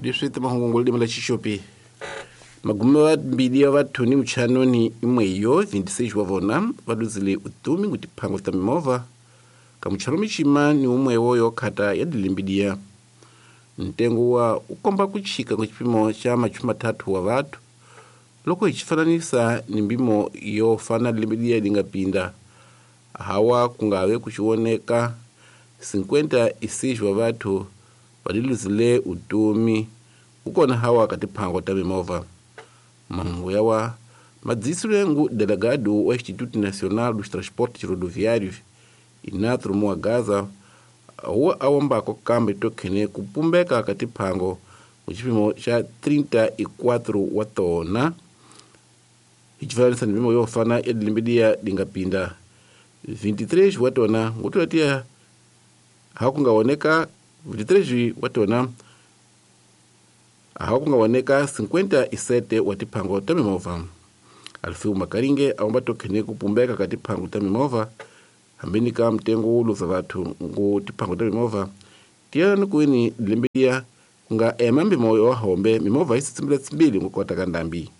Leswi timahungu limi la xixopi magume wa mbili ya vathu ni muchanoni imweyo 26 wa vona va luzile utumi ngutiphango ta mimovha ka muchano mixima ni umwewo yokhata ya dilimbidiya ntengo wa ukomba kuchika ku xipimo xa machumi mathathu wa vathu loko hi xifananisa ni mpimo yo fana limbidiya li nga pinda hawa kungave kuxioneka 56 wa vathu va luzile utumi kukona hawa ka tiphango ta mimovha. Mahungu yawa madzisile ngu delegado wa Instituto Nacional dos Transportes Rodoviários Inatro Muagaza wa awombako kambe tokhene kupumbeka ka tiphango ku xipimo xa 34 wa tona hi xifananisa ni mpimo yo fana ya dilimbidiya dinga pinda 23 wa tona ngutulatiya hakungaoneka 23 wa tona hakungaoneka 57 wa tiphango ta mimovha. Alfeu Makaringe awomba tokhene kupumbeka ka tiphango ta mimovha hambeni ka mtengo wo luza vathu ngu tiphango ta mimovha tiyani kuini dilimbidiya kunga ema mpimo wa hombe mimovha yi sitsimbile tsimbili ngukota ka ndambi.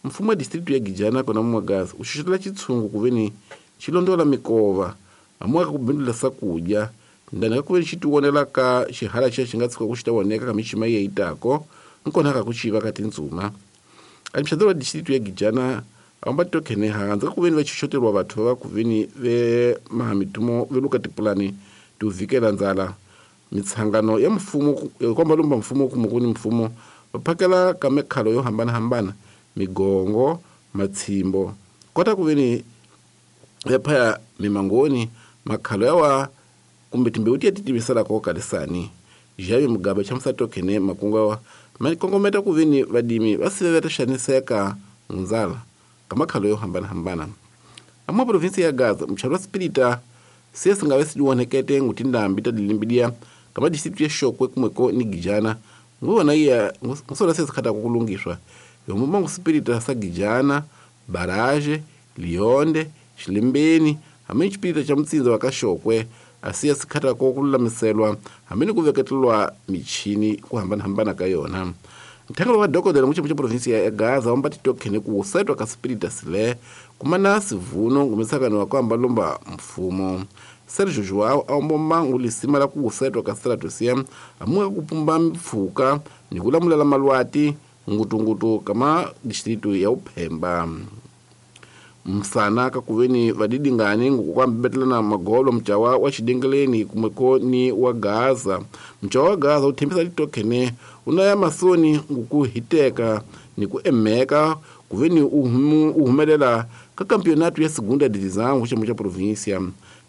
Mfumo wa distritu ya Gijana kona Mwagaza uxuxetela xitshungu kuveni xi londola mikova amuaka kubindula sakudya ndani ka kuveni xi tionela ka xihala xa xi nga tshuka ku xi ta voneka ka mixima yi itako nkona ka ku xiva ka tintsuma. Administrador wa distritu ya Gijana awomba tokhene handza ka kuveni va xoxoteriwa vathu va kuveni ve mahamitumo ve luka tipulani to vikela ndzala mitshangano ya mfumo komba lumba mfumo kumukuni mfumo va phakela ka mikhalo yo hambanahambana migongo matshimbo kota kuveni ya phaya mimangoni makhalo yawa kumbe timbewu tiya titiviselako kalisani. Javi Mugabe chamusa tokhene makungu yawa makongometa kuveni vadimi va sive va ta xaniseka ndzala ka makhalo yo hambanahambana. Amwa provinsi ya Gaza mchalo wa Spirita siye singave sidiwonekete ngutindambi ta dilimbidiya kama distritu ya Shokwe kumweko ni Gijana nguwona iya ngusola siye sikhatako kulungiswa yomuma nguspirita sa Gijana Baraje Lionde Xilimbeni hamene xipirita xa mutsinza wa ka Shokwe asiya sikhatako kululamiselwa hamene kuveketelwa michini ku hambanahambana ka yona. Nthangelo wa dokodela muximo xa provinsi ya Gaza wamba titokhene ku setwa ka spirita sile kumana sivuno ngumisakano wa kuhamba lomba mfumo. Sergio Joao awomba ngulisima la ku setwa ka stratosia amuka kupumba mpfuka ni kulamulela malwati ngutungutu kama distritu ya Uphemba. Msana ka kuveni vadidingani ngukwambetelana magolo mchawa wa xidengeleni kumweko ni wa Gaza. Mchawa wa Gaza uthembisa litokhene unaya masoni ngukuhiteka ni ku emeka kuveni uhumelela ka campeonato ya segunda divisão kuxemo xa província.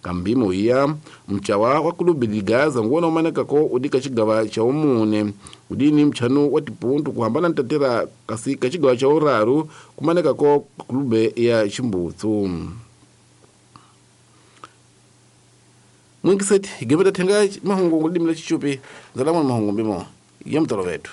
Kambimo iya mchawa wa clube de Gaza nguwona umanekako udika xigava xa umune udini mchanu wa tipuntu kuhambana ntatera kasi ka xigava xa uraru kumanekako clube ya Ximbutsu. Mwingiseti gemeta thenga mahungu ngulimi la xichupi ndzalamwa mahungu mbimo ya mutolo vethu.